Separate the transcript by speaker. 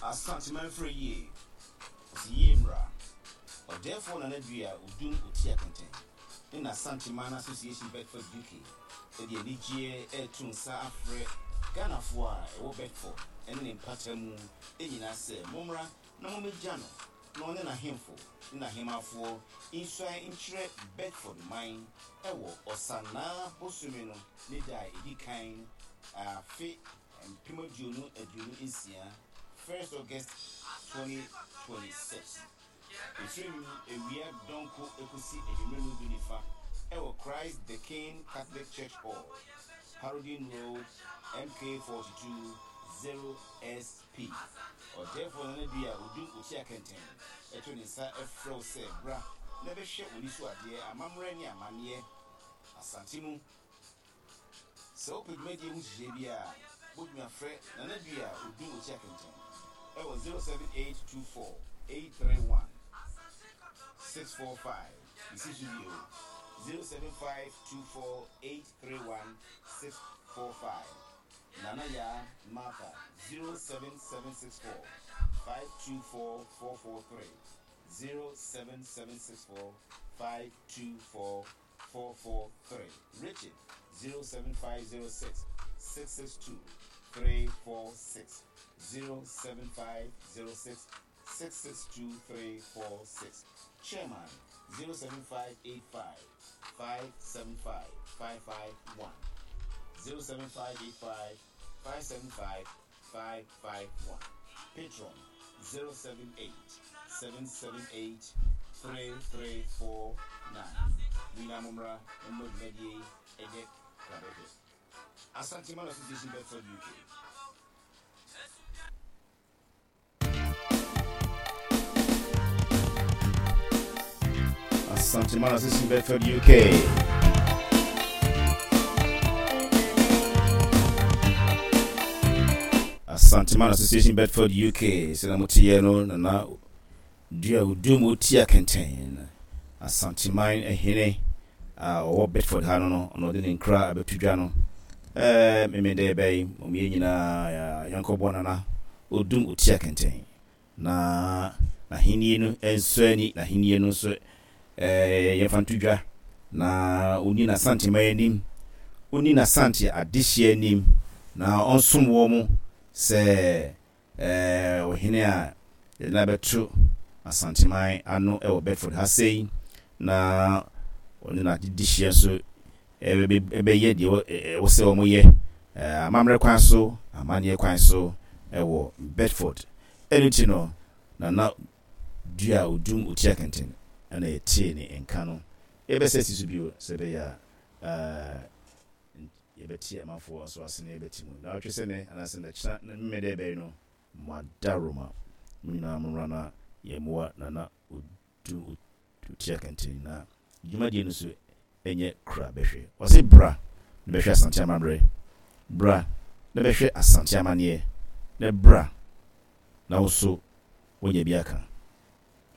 Speaker 1: Asanteman frɛ yie, ɔse yie mmra. Ɔdɛɛfoɔ Nana Dua Odum Otia Kɛntɛn ne n'Asanteman Association Bedford UK de anigyeɛ reto nsa afrɛ Ghanafoɔ a ɛwɔ Bedford ne ne mpata mu nyinaa sɛ mommra na mommɛgya no na ɔne n'ahemfo ne n'ahemmafoɔ nsuae nkyerɛ Bedford man wɔ Ɔsanaa bosome no ne da a ɛdi kan afe 2026, 1st August 2026. Ɛfiri awia dɔnko kɔsi anwummerɛ no du ne fa wɔ Christ the King Catholic Church Hall, Harrowden Road, MK42 0SP. Ɔdɛɛfoɔ Nana Dua Odum Otia Kɛntɛn to ne nsa frɛ wo sɛ bra na bɛhwɛ w'ani so adeɛ, amammerɛ ne amanneɛ Asante mu. Sɛ wopɛ dwumadie ho nhyehyɛeɛ bi a, wobɛtumi afrɛ Nana Dua Odum Otia Kɛntɛn wɔ 07824 831 645. Mesi so bio, 07524 831 645. Nana Yaa Martha, 07764 524 443, 07764 524 443, Richard, 07506 662 346, 07506 662 346, Chairman, 07585 575 551, 07585 575 551, Patron, 078 778 3349. Mo nyinaa mommra na momma dwumadie yi ɛnyɛ krabɛhwɛ. Asanteman Association Bedford UK. Asanteman Association Bedford UK. Asanteman Association Bedford UK. Sɛ na moteɛ no nana dua odum otia kɛntɛn Asanteman hene a ɔwɔ Bedford ha no no ɔno ɔde ne nkra abɛto dwa no ɛɛ memedɛ bɛyi mo yɛ nyinaa yɛnkɔbɔ nana odum otia kɛntɛn Na n'ahennie no nsɔ ani, n'ahennie no nso yɛmfa nto dwa, na ɔnni n'Asanteman anim, ɔnni n'Asante adehyeɛ anim, na ɔnsom wɔn sɛ ɔhene a yɛde no abɛto Asanteman ano wɔ Bedford ha sei, na ɔne n'adehyeɛ nso bɛyɛ deɛ ɛwɔ sɛ wɔyɛ amammerɛ kwan so, amanneɛ kwan so wɔ Bedford. Ɛno nti no, Nana Dua Odum Otia Kɛntɛn na yɛtee ne nka no. Yɛbɛsa asi so bio sɛ ɛbɛyɛ a yɛbɛte amanfoɔ nso ase na yɛbɛte mu. Naawɔtwe sɛ nnɛ anaasɛ nnɛkyena Memeneda ɛbɛn no, mo adaworoma, mo nyinaa mommra na yɛmmoa Nana Odum Tua kɛntɛn na dwumadie no so nyɛ kra bɛhwɛ. Ɔse bra na bɛhwɛ Asante amammerɛ, bra na bɛhwɛ Asante amanneɛ, na bra na wo nso woanya bi aka.